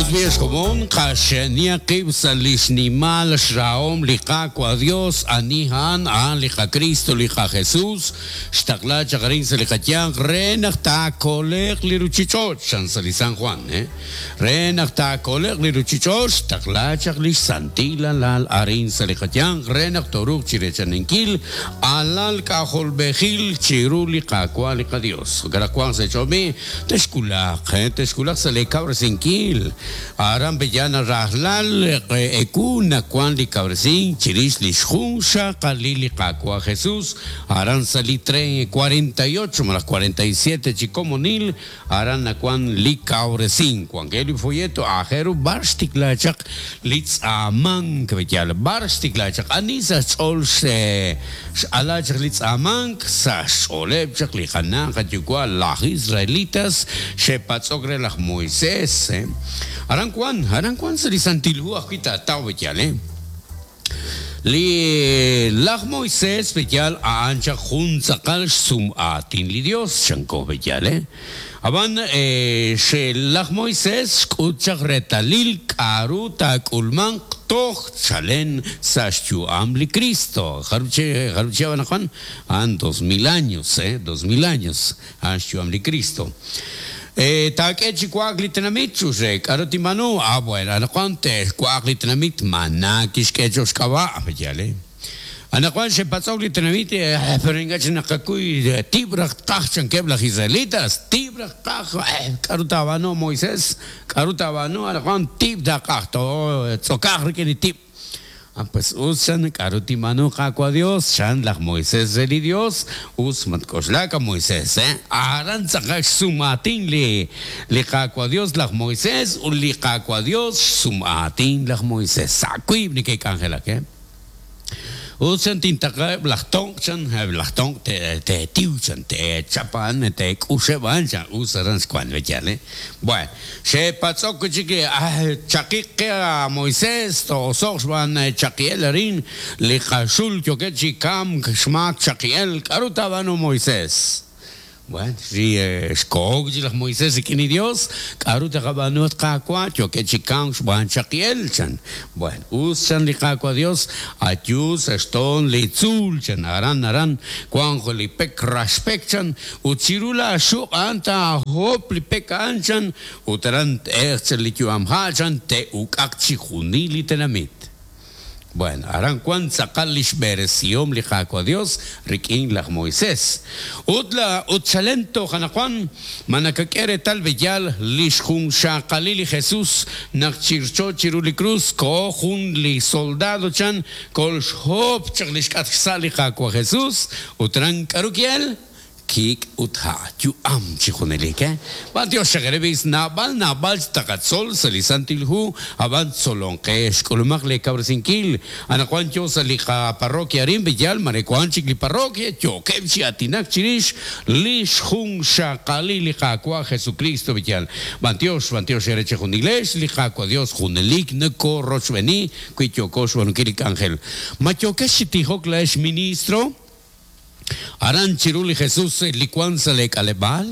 Us b'i' ex komon, qaxe'nihaq qib' sa' li xnimal xrahom li Qaawa' Dios, ani a'an? A'an li qaKristo, li qaJesus, xtaqla chaq arin sa' li qayanq re naq taakole'q li ruchich'och', chan sa' li San Juan, Re naq taakole'q li ruchich'och', xtaqla chaq lix santil Alal arin sa' li qayanq re naq tooruuq chireechaninkil alal k'ajolb'ejil chiru li Qaawa' li qaDios. Jo'kan naq wanq sa' eech'ool b'i', Texwulaq, texwulaq sa' lee kawresinkil. Aran Bellana rajlal ewu nawank li kawresink chirix lix junxaqalil li Qaawa' Jesus, aran sa' li 48 malaj 47 chi komonil, aran nawank li kawresink. Wankeb' li folleto aajel ru b'ar xtikla chaq li tz'aamank, Bellana, b'ar xtikla chaq, ani sa' xch'ool X'ala chaq li tz'aamank sa' xch'ooleb' chaq li qana' qayuwa' laj Israelitas xe'patz'ok re laj Moisés. Aran wan, aran wan sa' li Santil Hu ajwi' taataw b'eyal, eh. Li laj Moisés b'eyal a'an chaq jun tz'aqal xsum'aatin li Dios, chanko b'eyal, eh. Ab'an laj Moisés xk'ut chaq reetalil k'a'ru taak'ulmanq toj chalen sa' xyu'am li Kristo. Jarub' chihab' anaqwan? A'an 2000 años, eh, 2000 años, a'an xyu'am li Kristo. Taak'e chi wa'ak li tenamit, chux re, k'a'ru tinb'aanu? Ah, bueno, anaqwan te'wa'aq li tenamit, maná kixk'e cho'q xk'ab'a', yaal, eh. Anaqwan xe'patz'ok li tenamit, pero ink'a' chik naqakuy tib' raj tqaj, chankeb' laj Israelitas, tib' raj tqaj, k'aru taab'aanu, Moisés? K'aru taab'aanu? Anaqwan tib' taaqaj, tootz'okaq rik'in li tib'. Ah, pues us, chan, k'aru tinb'aanu, Qaawa' Dios? Chan laj Moisés re li Dios. Us, matk'oxlak, a Moisés, eh? Aran tz'aqal xsum'aatin li li Qaawa' Dios laj Moisés ut li Qaawa' Dios xsum'aatin laj Moisés. Sa' wiib' neke'k'anjelak, eh? Ut chan tintaqlaheb' laj tonq', chan, eb' laj tonq' teetiw, chan, teechap a'an, teek'uxeb' a'an, chan, us aran xwank we yaal, eh. Bueno, xe'patz'ok wi' chik, Chaqiq qe a Moisés, too'oso'q xb'aan chaqi'el arin, li qaxul yookeb' chi kamk xmaak chaqi'el, k'aru taab'aanu Moisés? Bueno, ri xkoho wi' chik laj Moisés rik'in li Yos, K'aru taqab'aanu, at Qaawa'? Yookeb' chi kamk xb'aan chaqi'el, chan. Bueno, us, chan li Qaawa' Yos, ayu sa' xtoon li tzuul, chan, aran, aran wanq li pek raxpek, chan, ut chiru laaxuq' a'an taahop li pek a'an, chan, ut aran t-elq chan li yu'amha', chan, te'uk'aq chixjunil li tenamit. Bueno, aran wank tz'aqal li xb'eresihom li Qaawa' Dios rik'in laj Moisés. Ut la ut chalen toj anaqwan, ma nakak'e reetal b'eyal li xjunxaqalil li Jesús naq chircho chiru li krus koho jun li soldado chan kolxhop chaq li xk'atq xsa' li Qaawa' Jesús ut aran k'aru ki'el? Kik' ut ha' yu'am chi junelik, eh? B'antiox chaq eere b'is, naab'al naab'al taqatzol sa' li Santil Hu, ab'an tzolonqex, k'ulumaq lee kawresinkil. Anaqwan yoo sa' li qaparroquia arin B'eyal, mare wank chik li parroquia yookeb' chi aatinak chirix li xjunxaqalil li Qaawa' Jesukristo B'eyal. B'antiox, b'antiox eere chejunilex, li Qaawa' Dios junelik nokorochb'eeni wi yooko xb'aanunkil li k'anjel. Ma yookex chi tijok laa'ex ministro? Aran chiru li Jesus li wank sa' lee k'aleb'aal?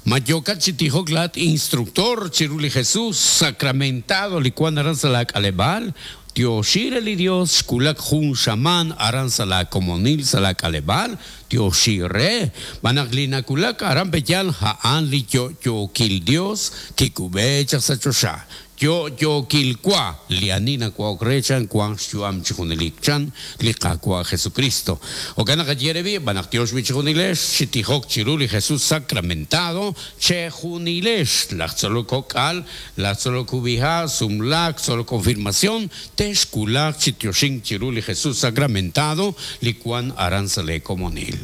Ma yookat chi tijok laa'at instructor chiru li Jesus sacramentado li wank aran sa' laa k'aleb'aal? Tyoxi re li Dios xwulak jun xamaan aran sa' laa komonil sa' laa k'aleb'aal, tyoxi re, xb'aan naq li nawulak aran pe'yaal a'an li yo'yookil Dios kikub'e chaq sa' choxa. Yo'yookil wa, li ani nawa'ok re chan wanq xyu'am chi junelik, chan li Qaawa' Jesukristo. Jo'kan naq ye re b'i', b'an naq tyox b'i' chejunilex chi tijok chiru li Jesus sacramentado, chejunilex, laj tzolok kok'al, laj tzolok kub'iha', sumlaak, tzolok konfirmación, texwulaq chi tyoxink chiru li Jesus sacramentado li wank aran sa' lee komonil.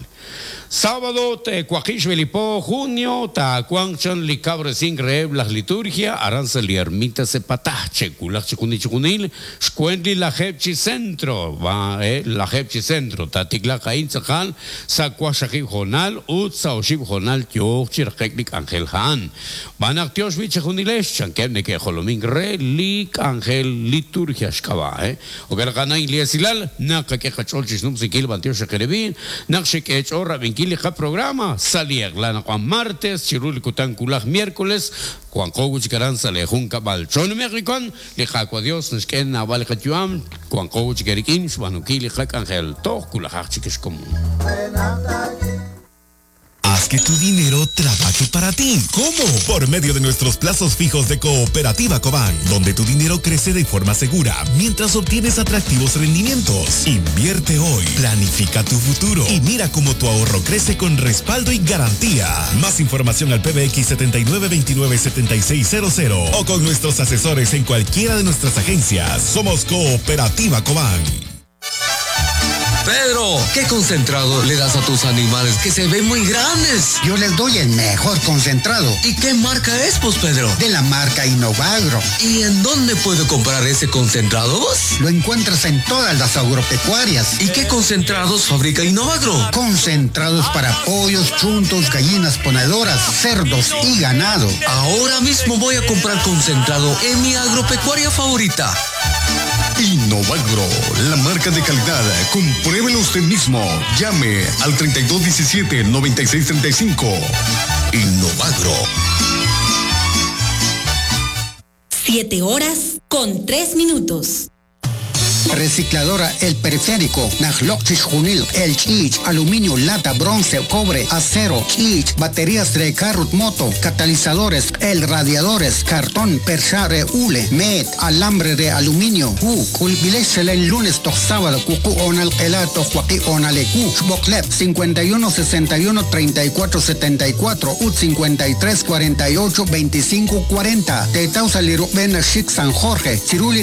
Sábado te waqib' xb'e li po junio taawanq chan li kawresink reheb' laj liturgia aran sa' li Ermita Sepatah che'wulaq chi junil chi junil xweent li lajeeb' chi centro va e lajeeb' chi centro taatiklaq a'in tz'aqal sa' waqxaqib' hoonal ut sa' oxib' hoonal yooq chi raqe'k li k'anjel a'an B'an naq tyox b'i' chejunilex, chankeb' neke'jolomink re li k'anjel liturgia xk'ab'a', eh. Jo'kan naq a'an a'in li esilal, naqak'e qach'ool chi xnumsinkil b'antiox xeqereb'i, naq xek'e eech'ool. eech'ool rab'inkil li qaprograma sa' li eq'la naq wan martes chiru li kutan wulaj miércoles wanqo wi' chik aran sa' lee junkab'al. Choonume'q li wan, li Qaawa' Dios naxk'e naab'al li qayu'am, wanqo wi' chik eerik'in xb'aanunkil li qak'anjel. Toj wulajaq chik ex komon. Haz que tu dinero trabaje para ti. ¿Cómo? Por medio de nuestros plazos fijos de Cooperativa Cobán, donde tu dinero crece de forma segura mientras obtienes atractivos rendimientos. Invierte hoy, planifica tu futuro y mira cómo tu ahorro crece con respaldo y garantía. Más información al PBX 7929-7600 o con nuestros asesores en cualquiera de nuestras agencias. Somos Cooperativa Cobán. Pedro, ¿qué concentrado le das a tus animales que se ven muy grandes? Yo les doy el mejor concentrado. ¿Y qué marca es, pues, Pedro? De la marca Innovagro. ¿Y en dónde puedo comprar ese concentrado vos? Lo encuentras en todas las agropecuarias. ¿Y qué concentrados fabrica Innovagro? Concentrados para pollos, chuntos, gallinas ponedoras, cerdos y ganado. Ahora mismo voy a comprar concentrado en mi agropecuaria favorita. Innovagro, la marca de calidad. Compruébelo usted mismo. Llame al 3217-9635. Innovagro. 7 horas con 3 minutos. Recicladora El Periférico, Najlok Junil, El Chich, aluminio, lata, bronce, cobre, acero, chich, baterías de carro, moto, catalizadores, el radiadores, cartón, perchare, hule, met, alambre de aluminio, u, culbilesel el lunes, to sábado, cucu, onal, elato, joaquí, onalecu, xboklep, 51 61 34 74, ut 53 48 25 40, Tetausa Lirubena Chic San Jorge, Ciruli.